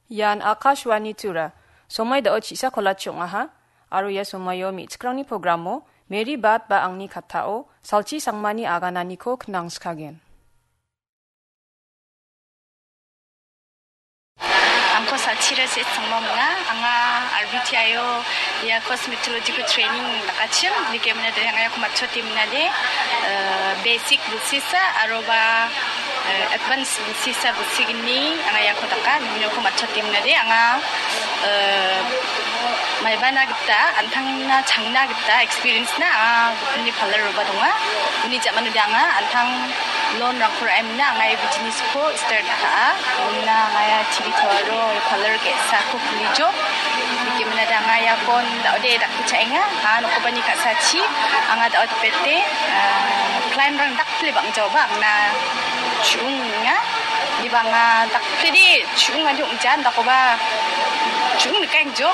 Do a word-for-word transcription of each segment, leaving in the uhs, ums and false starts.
Ian Akashvani Tura, somoi dao chisa kolachi ong·aha, aro ia somoio me·chikrangni programo Mary Bat ba angni kattao salchi sangmani agananiko knangskagen. Angko salchira se sangma manga, anga R B T I o ia cosmetological training dakachim, dike mena de anga ia komatchoti mena de, eh, basic busisa, aroba, eh, advance busisa busigini, anga ia ko daka, nimino komatchoti mena de, anga, eh, maibana gita, antangna changna gita experience na, anga gipinni parlour roba donga, uni jamano de anga, antang loan rangko ra·emna, anga ia business ko start ka·a. Ina anga ia chili toaro parlour ge·sako kulijo. Dikemina da anga ia bon da·ode dakku cha·enga. Anga nokopani ka·sachi anga da·ode pete, ah, client rang dakple bang·jaoba angna chu·unga. Diba anga dakple de chu·ung adi ong·jan dakoba chu·ung nikengjo.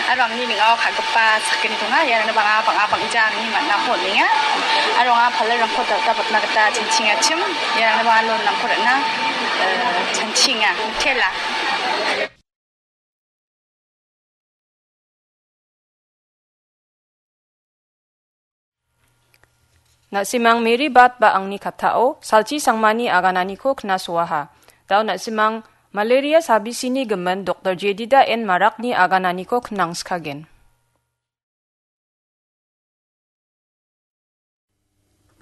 Aro angni ning·ao ka·gipa sakgni donga. Iarangna bang·a, bang·a bang·ja angni man·ako on·enga. Aro anga parlour-rangko dal·dalbatna gita chanchingachim. Iarangna bang·a loan-rangko ra·na, eh, chanchinga. Mitela. Na·simang Mary Bat ba angni kattao salchi sangmani agananiko knasoaha. Dao na·simang malaria sabisini gimin Doktor Jedida N Marakni agananiko knangskagen.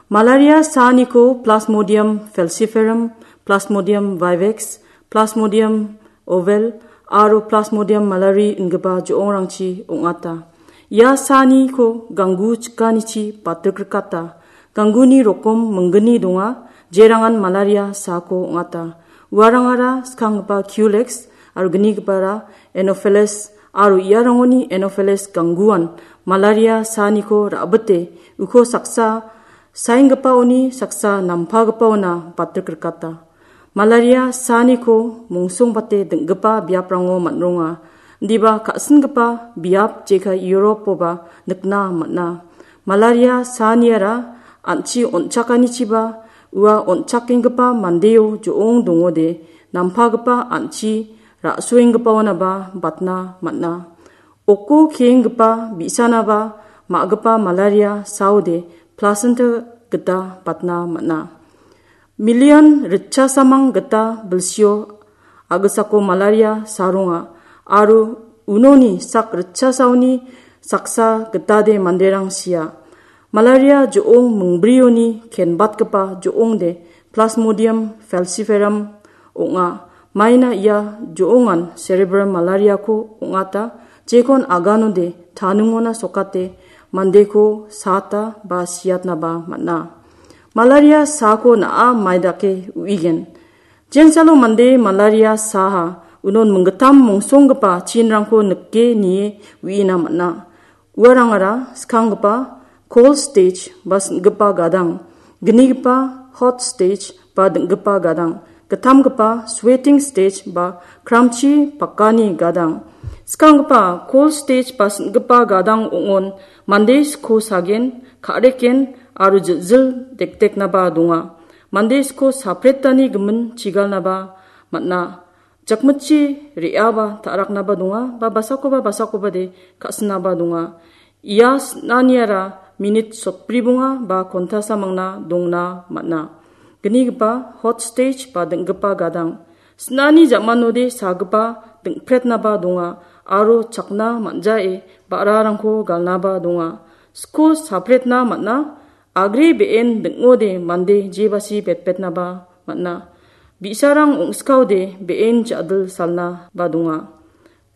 Malaria saaniko Plasmodium falciparum, Plasmodium vivax, Plasmodium ovale aro Plasmodium malariae ingipa jo·ongrangchi ong·ata. Ia saaniko ganggu chikanichi batrikrikata. Gangguni rokom minggni donga, jerangan malaria saako ong·ata. Uarangara skanggipa Culex aro gnigipara Anopheles aro iarangoni Anopheles gangguan malaria saaniko ra·bite uko saksa saenggipaoni saksa nampagipaona batrikrikata. Malaria saaniko mongsongbate ding·gipa biaprango man·ronga. Indiba ka·singipa biap jekai Europe-oba nikna man·a. Malaria saaniara an·chi on·chakanichiba ua on·chakenggipa mandeo jo·ong dongode nampagipa an·chi ra·soenggipaonaba batna man·a. Oko keenggipa bi·sanaba ma·gipa malaria saode placenta gita batna man·a. Milion ritchasamang gita bilsio a·gisako malaria saronga aro unoni sak ritchasaoni saksa gitade manderang sia. Malaria jo·ong mingbrioni kenbatgipa jo·ongde Plasmodium falciparum ong·a. Maina ia jo·ongan cerebral malariako ong·ata, jekon aganode taningona sokate mandeko saata ba siatnaba man·a. Malaria saako na·a maidake u·igen. Jensalo mande malaria saha unon minggittam mongsonggipa chinrangko nike nie u·ina man·a. Uarangara skanggipa cold stage ba sin·gipa gadang, gnigipa hot stage ba ding·gipa gadang, gittamgipa sweating stage ba kramchi pakani gadang. Skanggipa cold stage ba sin·gipa gadang ong·on mande sko sagen, ka·reken aro jil·jil dekdeknaba donga. Mande sko sapretani gimin chigalnaba man·a. Jakmitchi re·aba ta·raknaba donga, ba basakoba basakobade ka·sinaba donga. Ia sin·aniara minit sotbribonga ba kontasa mangna dongna man·a. Gnigipa hot stage ba ding·gipa gadang. Sin·ani ja·manode sagipa ding·pretnaba donga aro chakna man·jae ba·rarangko galnaba donga. Sko sapretna man·a, agre be·en ding·ode mande jebasi betbetnaba man·a. Bi·sarang ong·skaode be·en ja·dil salna ba donga.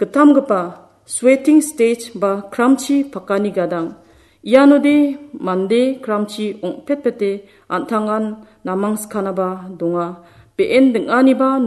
Gittamgipa sweating stage ba kramchi pakani gadang. Ianode mande kramchi ong·petpete an·tangan namang skanaba donga. Be·en ding·aniba